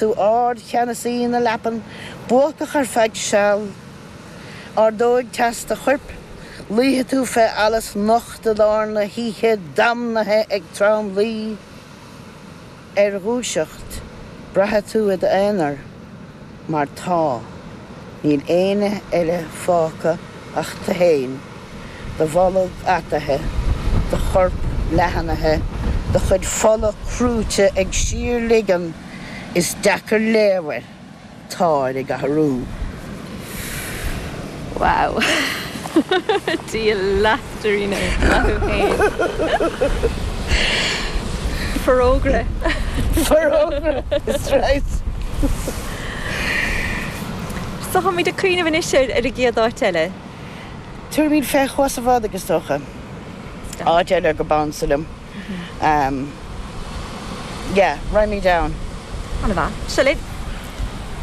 Tú ardcheannasaí na leapan, buacach ar feadh seal. Ardóidh teas do choirp, luífidh tú fé allas nocht i lár na hoíche damnaithe ag tromluí. Ar dhúiseacht, braithfidh tú i d'aonar, mar tá, níl éinne eile fágtha ach tú fhéin, do bholg ataithe, do chorp leathnaithe, do chuid fola crúite ag síorligean, Is deacair léamh air, táir ag athrú. Wow. Dia leat, Darina. Maith thú féin. Forógra. Forógra, is right. So táimid ag cuimhneamh anois ar an gcéad áit eile. Tabharfaimid fé Chuas an Bhádaigh, is dócha. Áit eile gurb ansa liom. Yeah, raghaimid ann. An-mhaith. Seo linn.